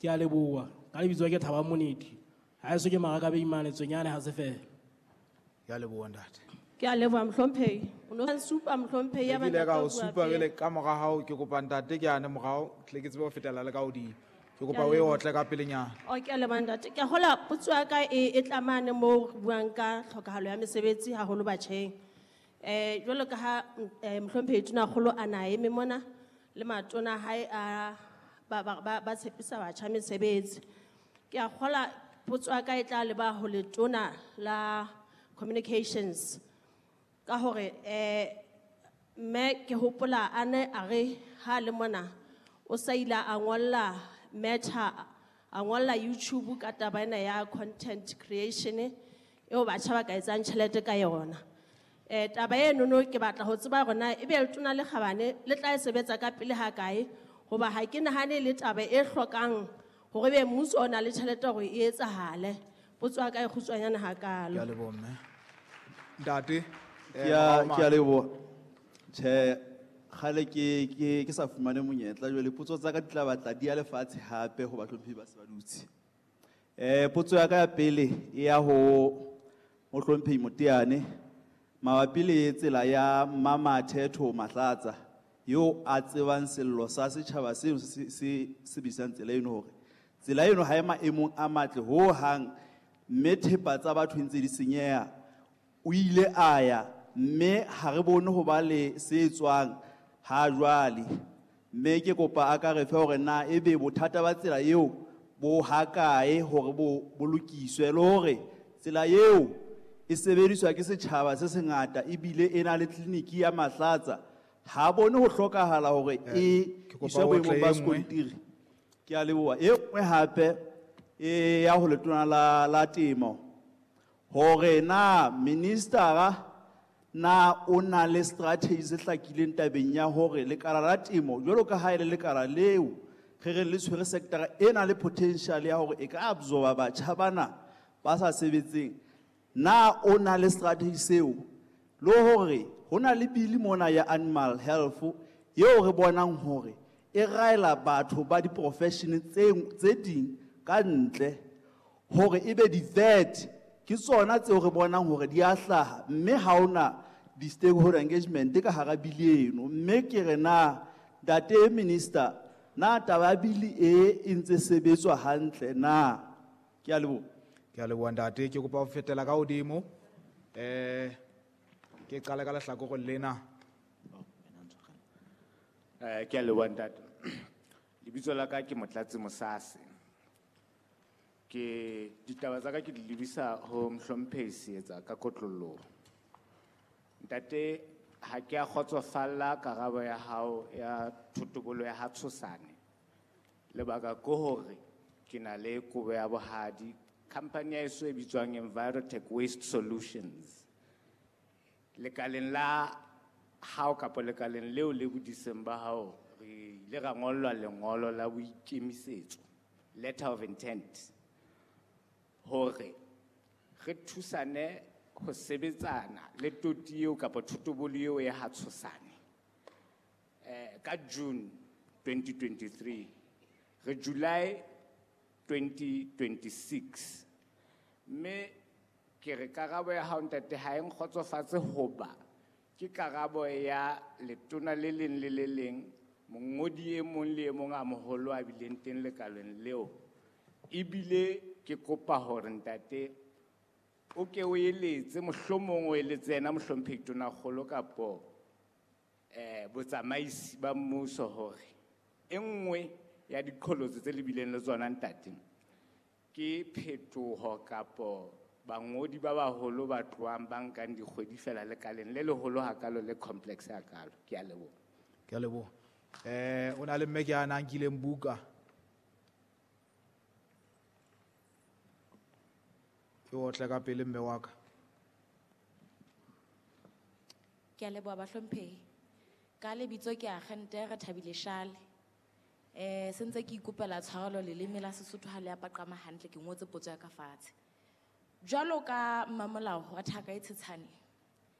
Ke a leboha. Ka lebitso ke Thaba Moneti. Ha eso ke maraka Beimane Tswenyane ha se fela. Ke a leboha ntate. Ke a leboha mohlomphehi. O no supa mohlomphehi ya Ke ile ka o ba ntate supa jwale ka mora hao, ke kopa ntate ke ane morao, tle ke tsebe ho fetela le ka hodimo. Ke kopa o e otle ka pelenyana. O ke a leboha ntate. Ke a hola potso ya ka e tlamane moo re buang ka tlhokahalo ya mesebetsi haholo batjheng. Jwalo ka ha mohlomphehi Tonakgolo a na eme mona le matona hae a ba tshepisa batjha mesebetsi. Ke a kgola potso ya ka e tla leba ho letona la communications ka hore mme ke hopola a ne a re ha le mona o sa ile a ngolla Meta, a ngolla YouTube ka taba ena ya content creation eo batjha ba ka etsang tjhelete ka yona. Taba eno no ke batla ho tseba hore na ebe letona le kgabane le tla e sebetsa ka pele ha kae, hoba ha ke nahane le taba e hlokang hore ebe mmuso o na le tjhelete hore e etsahale. Potso ya ka e kgutshwanyane hakalo. Ke a leboha mme. Ntate, Ke a, morao ke a mane. leboha. Tjhe, kgale ke sa fumane monyetla jwale potso tsa ka di tla batla di ya lefatshe hape ho bahlomphehi ba se ba dutse. Potso ya ka ya pele e ya ho mohlomphehi Moteane mabapi le tsela ya Mmamathetho Mahlatsa eo a tsebang sello sa setjhaba seo se sebedisang tsela eno hore tsela eno ha e maemong a matle ho hang, mme thepa tsa batho ntse di senyeha. O ile a ya mme ha re bone ho ba le se tswang ha jwale, mme ke kopa a ka re fe hore na ebe bothata ba tsela eo bo hakae hore bo lokiswe, le hore tsela eo e sebediswa ke setjhaba se sengata ebile e na le tleliniki ya Mahlatsa. Ha bone ho hlokahala hore e Ke kopa iswe o boemong tle ba e nngwe. sekontiri. Ke a leboha. E nngwe hape e ya ho letona la temo hore na ministera na o na le strategy se hlakileng tabeng ya hore lekala la temo jwalo ka ha e le lekala leo re reng le tshwere sector e na le potential ya hore e ka absorba batjha bana ba sa sebetseng, na o na le strategy seo, le hore ho na le bili mona ya animal health eo re bonang hore e raela batho ba di-profession tse ding ka ntle hore ebe di-vet ke tsona tseo re bonang hore di a hlaha, mme ha hona di-stakeholder engagement ka hara bili eno. Mme ke re na ntate minister, na taba ya bili e e ntse sebetswa hantle na? Ke a leboha. Ke a leboha ntate, ke kopa ho fetela ka hodimo. Ke qale ka lehlakoreng lena. Ke a leboha ntate. Lebitso la ka ke Motlatsi Mosase. Ke ditaba tsa ka ke di lebisa ho mohlomphehi Seetsa ka kotloloho. Ntate, ha ke a kgotsofalla karabo ya hao ya thotobolo ya ha Tshosane. Lebaka ke hore ke na le kobo ya bohadi. Company ya heso e bitswang Envirotech Waste Solutions. Lekaleng la hao kapa lekaleng leo le bodiseng ba hao, re ile ra ngollwa lengolo la boikemisetso, letter of intent, hore re thusane ho sebetsana le toti eo kapa thotobolo eo ya ha Tshosane. Ka June 2023, re July 2026. Mme ke re karabo ya hao ntate ha e nkgotsofatse hoba ke karabo ya letona le leng le le leng, mongodi e mong le e mong a moholo a bileng teng lekaleng leo. Ebile ke kopa hore ntate o ke o eletse, mohlomong o eletse yena mohlomphehi Tonakgolo kapo, botsamaisi ba mmuso hore e nngwe ya diqholotso tse le bileng le tsona ntate ke phetoho kapo bangodi ba baholo ba tlohang ba nkang dikgwedi fela lekaleng le leholo hakalo le complex hakalo. Ke a leboha. Ke a leboha. O na le mme ke a nang kileng buka. Ke otle ka pele mme wa ka. Ke a leboha bahlomphehi. Ka lebitso ke Agente Re Thabile Shale. Se ntse ke ikopela tshwarelo leleme la Sesotho ha le a paqama hantle, ke ngotse potso ya ka fatshe. Jwalo ka mmamolao wa thaka e tshetshane,